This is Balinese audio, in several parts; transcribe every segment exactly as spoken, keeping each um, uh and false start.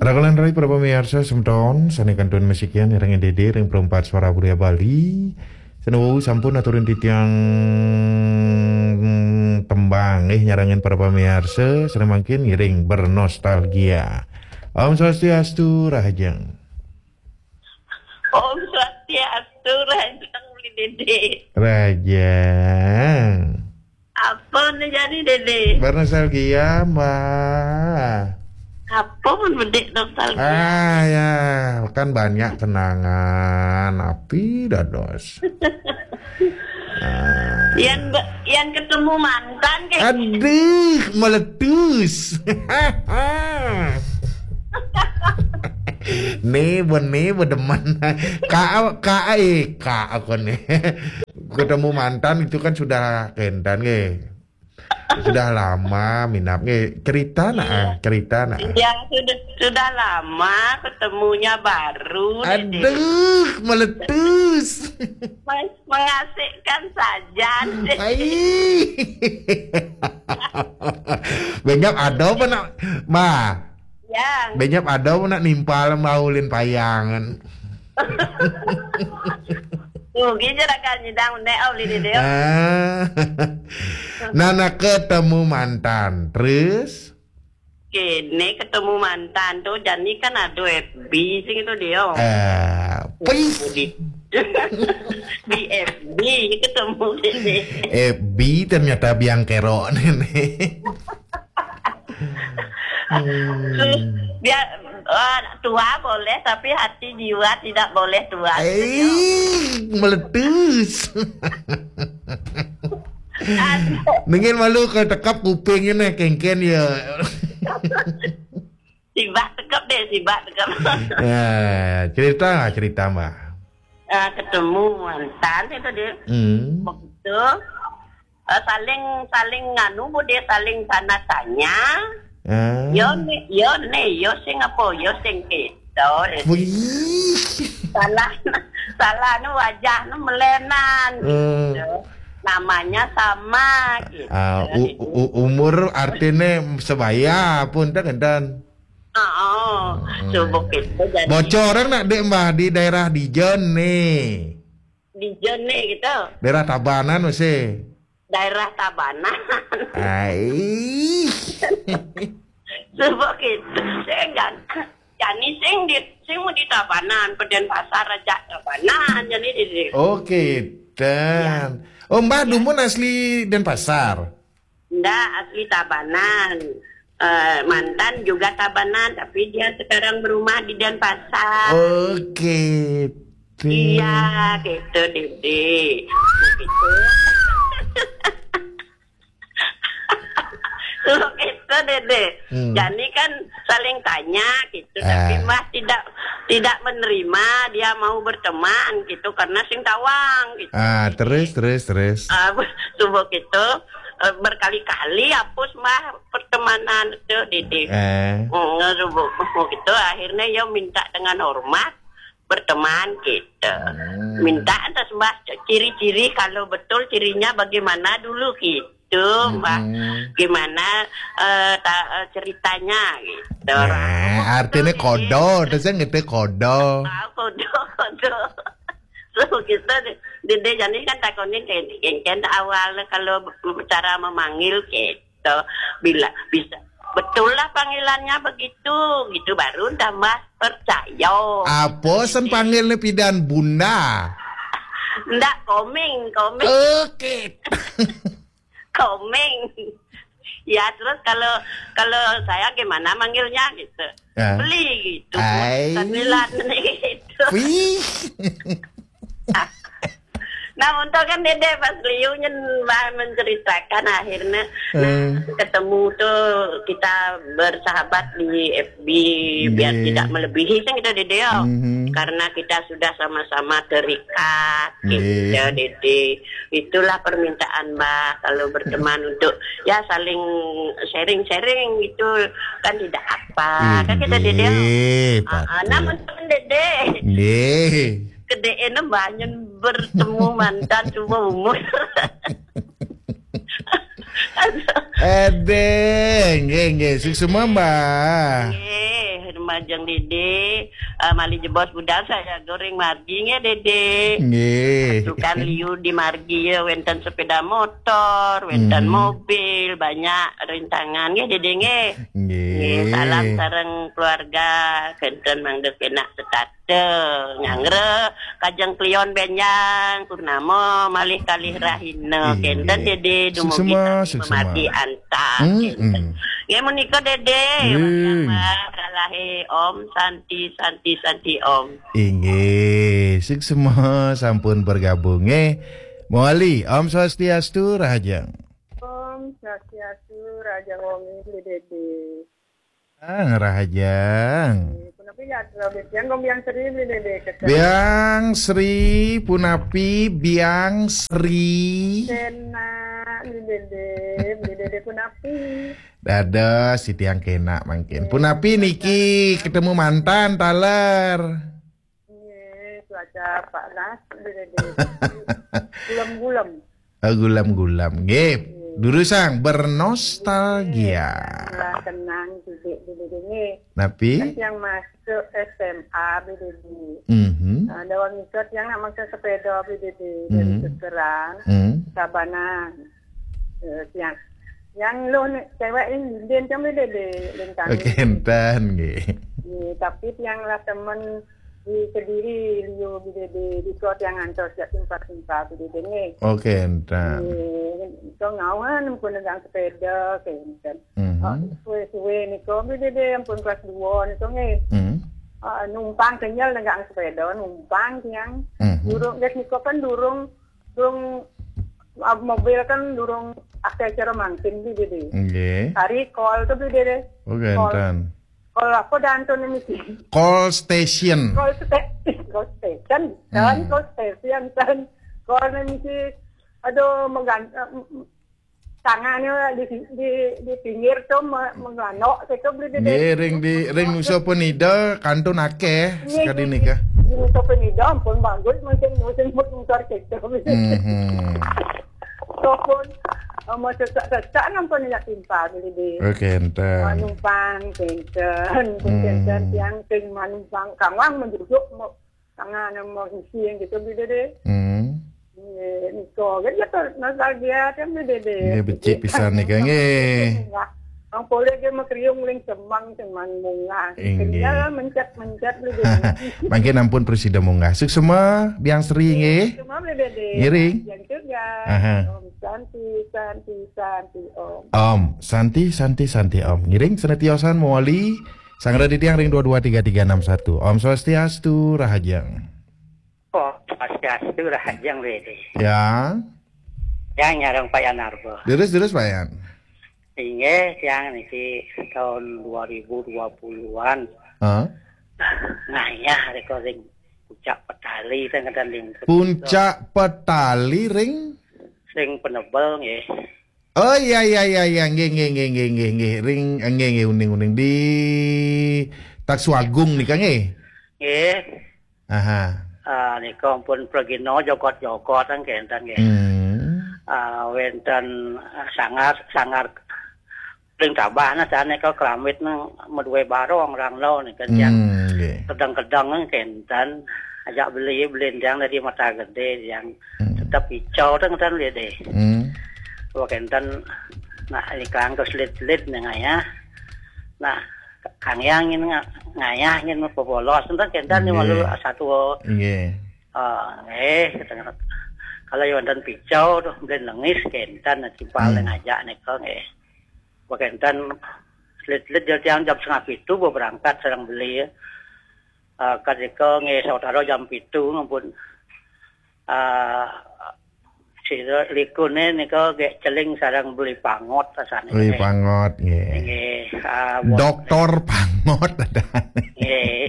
Raka lan rai para pamiarsa semeton, sané kantun masikian ireng Dédé ring Perempat Suara Budaya Bali. Sané wau sampun aturin titiang tembang, eh, nyarengin para pamiarsa, sané mangkin ngiring bernostalgia. Om Swastiastu, rahajeng. Om Swastiastu, rahajeng, Uli Dédé. Rahajeng. Apa nih jadi, Dédé? Bernostalgia, Mbah. Apa pun bedik nostalgia? Ah, ya, kan banyak kenangan. Api dados. Ah. Yan be-, yan ketemu mantan, kayak. Aduh, meletus. Nih, benih, bedemen. Ka, ka, eh, ka, aku nih. Ketemu mantan itu kan sudah kentan, nggih. Sudah lama minap, nggih. Cerita nah, iya, ah, cerita nah. Iya, sudah, sudah lama, ketemunya baru, Dédé. Aduh, meletus. Mas, mengasihkan saja, Dédé. Ai. Benyap ada apa nak, Ma? Ya. Benyap ada apa nak nimpal maulin payangan? Tuh, gitu lah kan, nyidang, nek, oh, Uli Dédé. Ah. Nah, nah, ketemu mantan. Terus? Kene ketemu mantan tuh, jani kan ada F B sing itu dia. Eh, pis. Di, di F B ketemu ini. F B ternyata biang kerok nih. Hmm. Dia, eh, tua boleh, tapi hati jiwa tidak boleh tua. Eh, meletus. Aduh. Mungkin malu ke tekap kupingnya nih, kengken ya. Sibak tekap deh, sibak tekap. Ya, cerita, cerita, Mbak. Eh, ketemu mantan itu dia. Hmm. Begitu. Eh, saling, saling nganu, Bu, dia saling tanya-tanya. Ah. Yo ni, yo ni, yo sing apa, yo sing kita. Wih. Salah, salah nu wajah nu melenan, hmm, gitu. Namanya sama, gitu. Ah, u-, u-, umur artinya sebaya pun, tak kendan. Oh, hmm, subuh itu jadi. Bocoran nak, Dek, Mbah, di daerah Dijen nih. Dijen nih, gitu. Daerah Tabanan masih. Daerah Tabanan. Ai. Subuh gitu. Saya enggak. Jani sing di, sing mau di Tabanan, Peden Pasar aja Tabanan, jadi di. Oke, dan. Ya. Oh, Mbah, ya, dumun asli Denpasar? Ndak, asli Tabanan. Eh, mantan juga Tabanan, tapi dia sekarang berumah di Denpasar. Oke. Iya, gitu, Dede. Begitu. Begitu, Dede. Hmm. Jadi kan saling tanya gitu, tapi, ah, Mbah tidak, tidak menerima dia mau berteman gitu karena sing tawang gitu. Ah, terus, terus, terus. Ah, subuh gitu, eh, berkali-kali hapus, Mbah, pertemanan itu, Dede. Eh. Hmm, subuh, subuh gitu, akhirnya ya minta dengan hormat berteman gitu. Hmm. Minta atas, Mbah, ciri-ciri kalau betul cirinya bagaimana dulu gitu, Mbah. Hmm. Gimana, eh, ta-, eh, ceritanya gitu. Nah, artinya gitu, kodo, terus yang ngerti kodo. Ah, kodo, kodo. So, gitu, Dede, jadi kan takonin kayak, kayak awalnya kalau cara memanggil gitu. Bila bisa, betul lah panggilannya begitu, gitu, baru tambah percaya. Apa sen panggilnya pidan Bunda? Ndak, Komeng, Komeng. Oke. Komeng. Ya, terus kalau, kalau saya gimana manggilnya gitu? Ya. Beli gitu. Ai. Sambilan gitu. Wih. Nah, untung kan Dede pas liu nyen, Mbah, menceritakan akhirnya, nah, eh, ketemu tuh kita bersahabat di F B, biar, iya, tidak melebihi kan kita, Dede, ya. Mhm. Karena kita sudah sama-sama terikat, iya, gitu, Dede. Itulah permintaan, Mbah, kalau berteman untuk, ya, saling sharing-sharing gitu, kan tidak apa. Kan kita, Dede, iya, ah, ah, nah, betul. Untung Dede. Iya. Kedé'é banyen bertemu mantan seumur umur. Aduh. Edéh, nggih, nggih. Suksma, Mbah. Nggih. Majeng Dede, eh, malih jebos budal saja ring margi nggih, Dede. Nggih. Tukang liu di margi ya, wenten sepeda motor, wenten Hmm. mobil, banyak rintangan nggih, Dede nggih. Nggih. Nggih, salam sareng keluarga, kenten mangda penak setata, nyanggra kajeng klion benjang, purnama malih kalih rahina, Nggih. kenten Dede dumugi Suksema, sami suksema. memati antar, Hmm, kenten. hmm. Nggih, menika, Dede. Nggih. Wayah, Mbak, kalahe Om Santi, Santi, Santi, Om. Inggih, suksema sampun bergabung, nggih. Mawali, Om Swastiastu, Rahajeng. Om Swastiastu, Rahajeng Wongi, Beli Dede. Ah, Rahajeng. Punapi ya, Beli Dede, Biang Sri, Beli Dede, keten. Biang Sri, punapi, Biang Sri. Kena, Beli Dede, Beli Dede, punapi. Dados, titiang kena mangkin. Punapi niki ketemu mantan taler. Nggih, cuaca panas, Beli Dede. Gulem-gulem. Oh, gulem-gulem. Nggih. Nggih. Durusang bernostalgia. Nggih, lah tenang, Beli Dede, nggih. Napi? Kan tiang masuk S M A, Beli Dede. Mhm. Nah, dawang itu tiang nak maksa sepeda, Beli Dede, dari Mhm. Kekeran, Mhm. Tabanan. Eh, tiang. Yang lo ni, cewek ini, dia macam Beli Dede, lintang. Oke, enten, nggih. Nggih, tapi tiang lah temen di Kediri, liu Beli Dede, di kota yang antar siap timpa-timpa Beli Dede, nggih. Oke, enten. Nggih, itu ngawan, pun dengan sepeda, kenten. Mhm. Ah, suwe-suwe nika, Beli Dede, ampun kelas dua nika, nggih. Mhm. Ah, numpang kenyal dengan sepeda, numpang tiang. Mhm. Durung, nggih, nika kan durung, durung, ah, mobil kan durung akeh cara mangkin, Beli Dede. Nggih. Hari kol tu, Beli Dede. Oh, Kol. Kenten. Kol apa dah tu ni mesti? Kol station. Kol sta-, kol station. Dan Hmm. kol station, dan kol ni mesti, aduh, menggan-, eh, tangannya di, di, di pinggir tu me-, menganok, saya tu Beli Dede. Nggih, ring di, ring Nusa Penida, kantun akeh, Nggih, sekali nggih, nika. Di Nusa Penida, ampun bagus, musim, musim, musim, musim, kita. Mhm. Ataupun, eh, mau sesak-sesak, nampak ni nak timpal, Beli Dede. Oke, enten. Ah, numpang, kenten, Hmm. kenten, tiang, sing manumpang, kawang menjujur, mau, tangan, mau isi yang gitu, Beli Dede. Hmm. Nggih, nika, kan ya, nostalgia, kan, Beli Dede. Nggih, becik pisan nika, nggih. Bang poleh ge makriung ling semang, semang munggah. Inggih. Tinggal mencet-mencet, Beli Dede. Mangkin ampun prasida munggah. Suksema, Biang Sri, nggih. Semua, Beli Dede. Ngiring. Yang juga. Aha. Om Santi, Santi, Santi, Om. Om Santi, Santi, Santi, Om. Ngiring, senetiosan, mawali. Sang Raditya ring dua dua tiga tiga enam satu. Om Swastiastu, Rahajeng. Oh, Swastiastu, Rahajeng, Beli Dede. Ya. Ya, nyareng Pak Yanarba. Terus, terus, Pak Yan. Inggih, tiang niki tahun dua ribu dua puluhan. Hah? Ngayah reka ring Puncak Petali, teng ngeden ring Puncak Petali ring? Ring Penebel, nggih. Oh, iya, iya, iya, iya. Nggih, nggih, nggih, nggih, nggih, nggih. Ring, nggih, nggih, uning, uning. Di Taksu Agung nika, nggih? Nggih. Aha. Ah, nika ampun pragina jogot-jogot kan kenten, nggih. Hmm. Ah, wenten, ah, sanggar, sanggar ring Tabah nah, sane ka Keramit nang madue barong rang lo nika, tiang Hmm, nggih. kedeng-kedeng kan kenten. Ajak beli, beli tiang dari Mata Gede, tiang Hmm. tetep ijo teng kenten, Beli Dede. Hmm. Wah, kenten, nah, ikan ke selit-selit nih, ya. Nah, Kang Yang ini nga-, ngayah ini popolos, enten kenten nih, Nggih. malu satu. Nggih. Ah, nggih, kenten. Kalau yang wonten picau tuh, beli lengis kenten, nah, timpal Hmm. ngajak nika, nggih. Wah, kenten selit-selit jam, jam setengah pitu, berangkat sareng beli. Ah, ketika nggih saudara jam pitu, ampun. Ah, sira likune nika ge celing sareng beli Pangot rasane. Beli Pangot, nggih. Nggih, ah, bon Doktor Pangot ada. Nggih.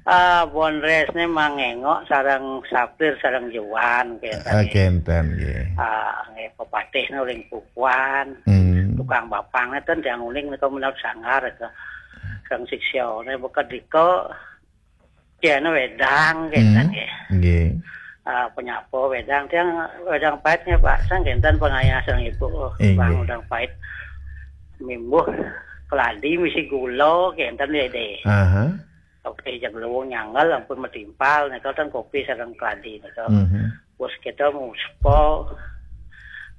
Ah, bon resne mangengok sareng Sapir sareng Juan, nggih. Ah, kenten, nggih. Ah, nggih, pepatih nuling pupuan. Hmm. Tukang bapang neten tiang uling nika menurut sanggar ke. Kang Siksya ne bekedika. Tiang wedang, kenten, Hmm, nggih. nggih. Ah, penyapa wedang, tiang wedang pait nggih, Pak. Sang kenten pengayah sang ibu, oh, Inggih. Bang, wedang pait. Mimbuh. Keladi misi gula, kenten, Dede. Aha. Oke, jang luwung nyangel, ampun matimpal, nika ten kopi sareng keladi, nika. Mhm. Bos kita muspa.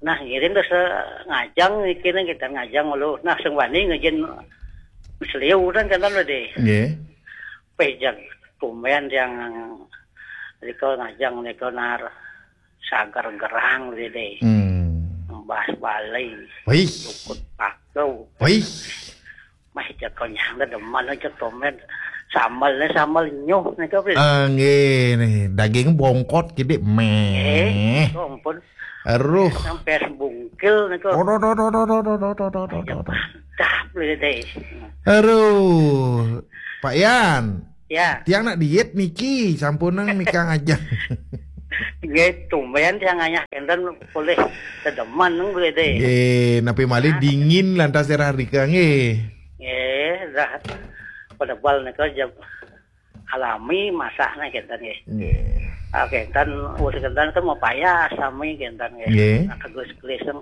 Nah, ngiring terus, eh, ngajang, niki, nih, kita ngajang lu. Nah, sing wani ngejin seliu, kan, kenten, Dede. Nggih. Pejang, tumben yang nika ngajang, nika nar sagar gerang, Dede. Hmm. Mbas balai. Wih. Lukut paku. Wih. Mah, cek konyang dah demen aja komen. Sambelnya sambel nyuh nih, Kak, Pris. Ah, nggih, nih, daging bongkot gede, meh. Eh, ampun. Aduh. Sampai sebungkil nih, Kak. Oh, do, do, do, do, do, do, do, do, do, do, do. Mantap, Dede. Aduh, Pak Yan. Ya. Tiang nak diet niki, sampunang nikah aja. Nggih, tumben tiang ngayah kenten boleh sedemen nang boleh deh. Nggih, napi malih dingin lantas daerah rika nggih. Nggih, dah pada bal nika jam alami masaknya kenten nggih. Nggih. Ah, kenten, wis kenten kan mau payah sami kenten nggih. Nggih. Nah, tegus keliseng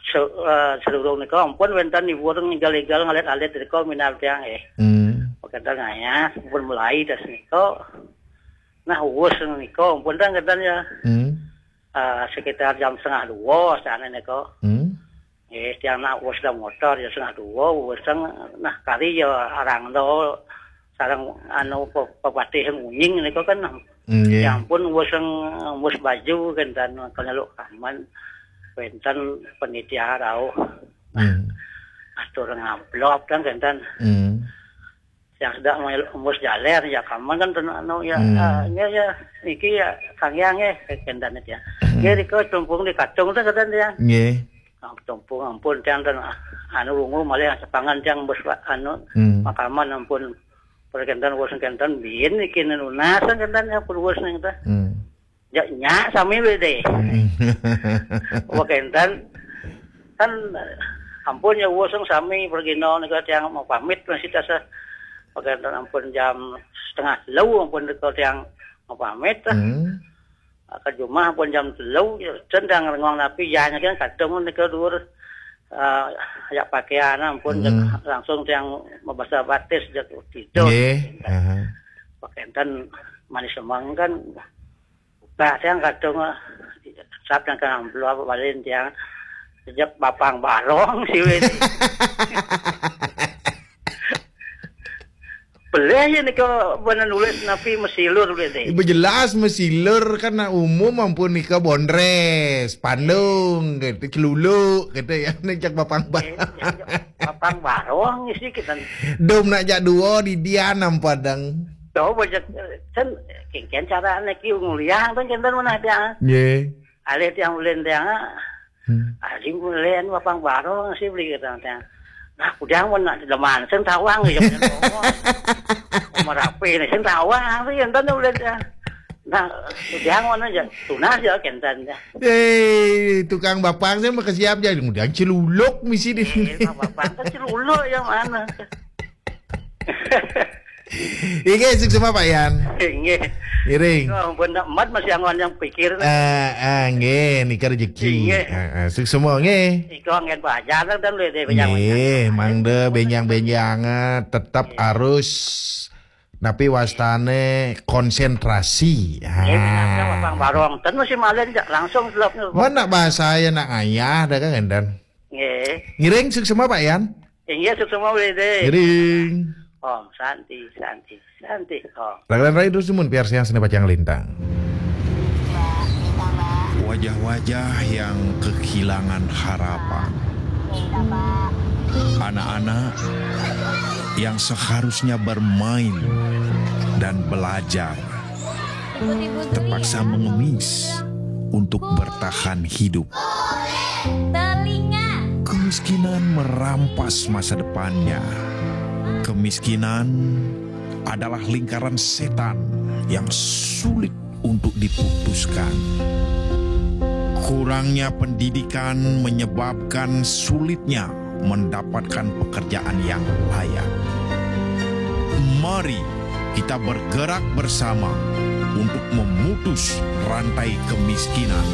se-, eh, sedurung nika ampun wenten ibu orang ninggal-ninggal ngalit-alit nika minal tiang nggih. Hmm. Kenten ngayah, pun mulai das nika. Nah, wis nika ampun dah kenten ya. Hmm. Eh, sekitar jam setengah dua sana nika. Hmm. Nggih, tiang nak wis dah motor jam setengah dua, wis teng-, nah, kari ya arang do, sareng anu pe-, pepatih ngunying nika kan. Hmm, nggih. Ya ampun, wis teng-, wis baju kan dan kanyeluk kaman. Wenten penitia rauh. Hmm. Atur ngablop kan kenten. Hmm. Yang sedang mel-, embus jaler, ya kaman kan ten-, anu, ya, hmm, ah, ya, ya, iki ya, Kang Yang ya, kenten ya. Hmm. Nggih, rika tumpung di katung tu kenten ya. Nggih. Nah, tumpung ampun, tiang ten, ah, anu, wungu malih sepangan tiang embus, anu, hmm, makaman ampun. Perkenten, wis kenten, bin, iki nunas, kenten ya, pun wis ning teh. Hmm. Ya, nya, sami wis deh. Hmm. Wah, kenten. Kan, ampun ya, wis sami pergi no, nika tiang mau pamit, masih tasa. Wah, kenten ampun jam setengah telu, ampun nika tiang mau pamit. Hmm. Ke rumah ampun jam telu, ya, ten tiang rengong napi, ya, nya kan kadung nika dur, eh, ya pakaian, ampun, hmm, langsung tiang mau basa batis, jak tidur. Nggih. Aha. Wah, kenten manis semang kan. Bah, tiang kadung, eh, sap yang kena amplop, balen tiang sejak bapang barong, sih, weh. Boleh ya nika bener nulis napi mesilur boleh deh. Ibu jelas mesilur kan nak umum ampun nika bondres, pandung, gitu, celuluk, gitu ya, nih jak bapang barong. Eh, bapang barong sih kita. Dom nak jak dua di dia nampadang. Tuh, banyak, eh, kan, kengken cara anak ki nguliah, kan, kenten mana dia. Nggih. Alih tiang ulin tiang, ah. Hmm. Alih ulin bapang barong sih beli kita tiang. Nah, kudang pun nak deman, sing tawang ya, punya ngomong. Merapi ni, sing tawang, tu yang tanda ulin tiang. Nah, kudang mana je, tunas je, kenten je. Eh, tukang bapang saya mah kesiap je, kemudian celuluk misi di. Eh, bapang kan celuluk yang mana? Inggih, suksma Pak Yan. Inggih. Ngiring. Oh, ampun, nak mat masih angon yang pikir. Eh, eh, nggih, nika rezeki. Inggih. Eh, eh, suksma nggih. Iko anggen pajar kan, dan luwih deh, benjang-benjang. Nggih, mangda benjang-benjang, eh, tetap harus napi wastane konsentrasi. Nggih, benjang-benjang, bapang barong. Ten masih malen, jak langsung selapnya. Mana bahasa ya nak ngayah, dah kan, Endan? Nggih. Ngiring, suksma Pak Yan. Inggih, suksma wede. Ngiring. Om Santi, Santi, Santi, Om. Langganan rai terus mun piarsiang seni pacang lintang. Wajah-wajah yang kehilangan harapan. Anak-anak yang seharusnya bermain dan belajar terpaksa mengemis untuk bertahan hidup. Telinga. Kemiskinan merampas masa depannya. Kemiskinan adalah lingkaran setan yang sulit untuk diputuskan. Kurangnya pendidikan menyebabkan sulitnya mendapatkan pekerjaan yang layak. Mari kita bergerak bersama untuk memutus rantai kemiskinan.